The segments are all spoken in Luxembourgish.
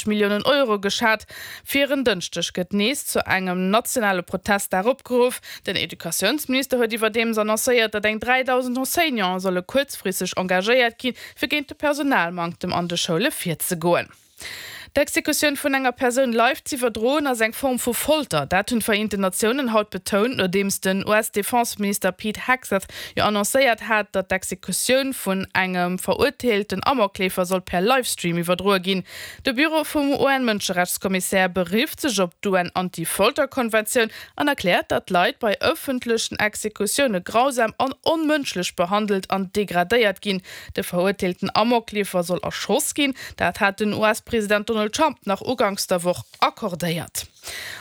Milliounen Euro geschat. Fir en Dënschdeg gëtt nees zu engem nationale Protestdag opgeruff. Den Educatiounsminister huet iwwerdeems annoncéiert, datt eng 3.000 Enseignanten solle kuerzfristeg engagéiert ginn, fir géint de Personalmanktem an de Schoule virzegoen. D'Exekutioun vun enger Persoun live z'iwwerdroen, ass eng Form vu Folter. Dat hunn d'Vereenten Natiounen haut betount, nodeems den US-Defenseminister Pete Hegseth jo annoncéiert hat, datt d'Exekutioun vun engem verurteelten Amokleefer soll per Livestream iwwerdroe ginn. De Büro vum UN-Mënscherechtskommissär berifft sech op d'UN-Anti-Folter-Konventioun an erkläert, datt Leit bei ëffentlechen Exekutioune grausam an onmënschlech behandelt an degradéiert ginn. De verurteelten Amokleefer soll erschoss ginn. Dat hat den US-President Donald Trump nach uganks der Woch accordéiert.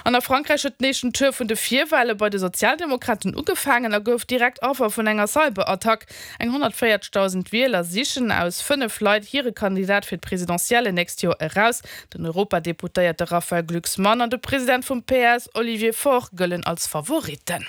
An a Frankräich huet den éischten Tour vun de Virwale bei de Sozialdemokraten ugefaangen a gouf direkt Affer vun enger Cyberattack. Eng 140.000 Wieler sichen aus 5 Leit hire Kandidat fir d'Presidentielle nächst Joer eraus. Den Europadeputéierte Raphaël Glucksmann an de President vum PS Olivier Faure gëllen als Favoritten.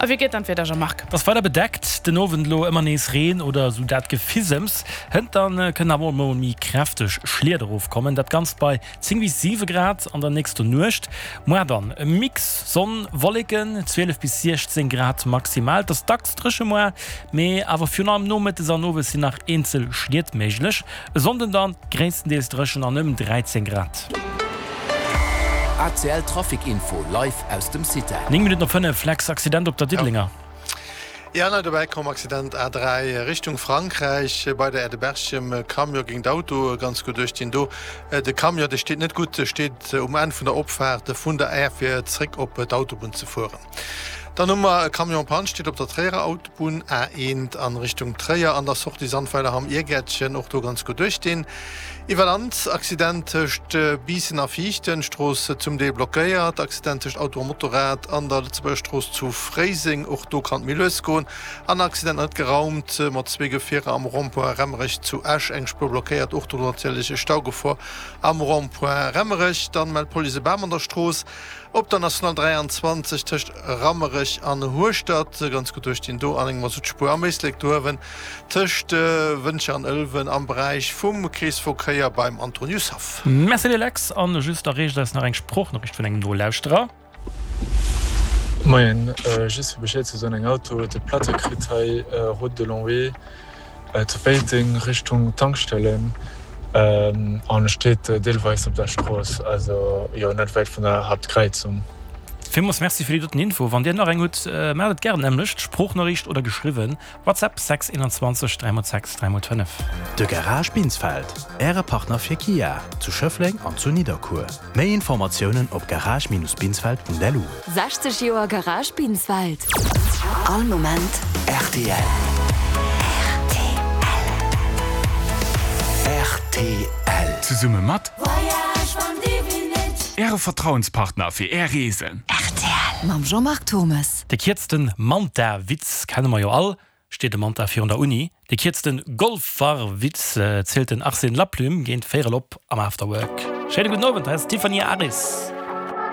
A wéi geet dann d'Wieder, Jean-Marc? Et ass weider bedeckt, den Owend elo ëmmer nees Reen oder esou dat Gefisems. Hënt dann kënnen awer och mol méi kräfteg Schliet erofkommen, dat Ganzt bei 10 bis 7 Grad an der nächster Nuecht. Moar dann e Mix Sonn, Wolleken, 12 bis 16 Grad maximal. Et ass dacks dréche moar, mee awer virun allem nomëttes an owes sinn nach eenzel Schliet méiglech. E Sonnden dann gréisstendeels dréchen an ëm 13 Grad. ACL Trafic Info live aus dem Citec. 9 Minutten op 5, Lex, Accident op der Diddelenger. Ja, nei dobäi komm, Accident A3 Richtung Frankräich bei der Aire de Berchem. Camion géint Auto, ganz gutt duerch do. De Camion, dee steet net gutt, steet um Enn vun der Opfaart vun der Aire fir zréck op d'Autobunn ze fueren. Dann hu mer e Camion en panne, steet op der Tréierer Autobunn A1 an Richtung Tréier an der Sortie Sandweiler Hamm Iergäertchen, och do ganz gutt duerch deen. Iwwer Land, Accident tëscht Biissen a Viichten, Strooss zum Deel blockéiert. Accident tëscht Auto a Motorrad an der Lëtzebuerger Strooss zu Fréiseng, och do kann et méi lues goen. An Accident net geraumt mat zwee Gefierer am Rond-point Remmerech zu Esch, eng Spuer blockéiert, och do natierlech Staugefor am Rond-point Remmerech. Dann mellt d'Police e Bam an der Strooss op der National 23 tëscht Rammerech an Hueschtert, ganz gutt duerch deen do an eng Masuttspuer am Éislek do uewen. Tëscht Wëntger an Ëlwen am Beräich vum Kreesverkéier beim Antoniushaff. Merci dir Lex, an just erreecht eis nach eng Sproochnoriicht vun engem Nolauschterer. Moien, just fir Bescheed ze soen, eng Auto huet e Platte kritt hei Route de Longwy zu Péiteng Richtung Tankstelle an steet deelweis op der Strooss, also jo net wäit vun der Haaptkräizung. Villmools Merci fir déi doten Info. Wann dir nach eng hutt, maacht et gären nämmlecht, Sproochnoriicht oder geschriwwen. WhatsApp 6 21 3 x 6 3 x 5. De Garage Binsfeld, Äre Partner fir Kia, zu Schëffleng an zu Nidderkuer. Méi Informatiounen op garage-binsfeld.lu. 60 Joer Garage Binsfeld. All Moment rtl. Rtl. Zesumme mat Äre Vertrauenspartner fir Är Reesen. Rtl. Mam Jean-Marc Turmes. De kierzten Manta-Witz kenne mer jo all, steet e Manta virun der Uni. De kierzten Golfer-Witz zielt den Arsène Laplume géint véierel op am Afterwork. Schéine gudden Owend, hei ass d'Tiffany Aris.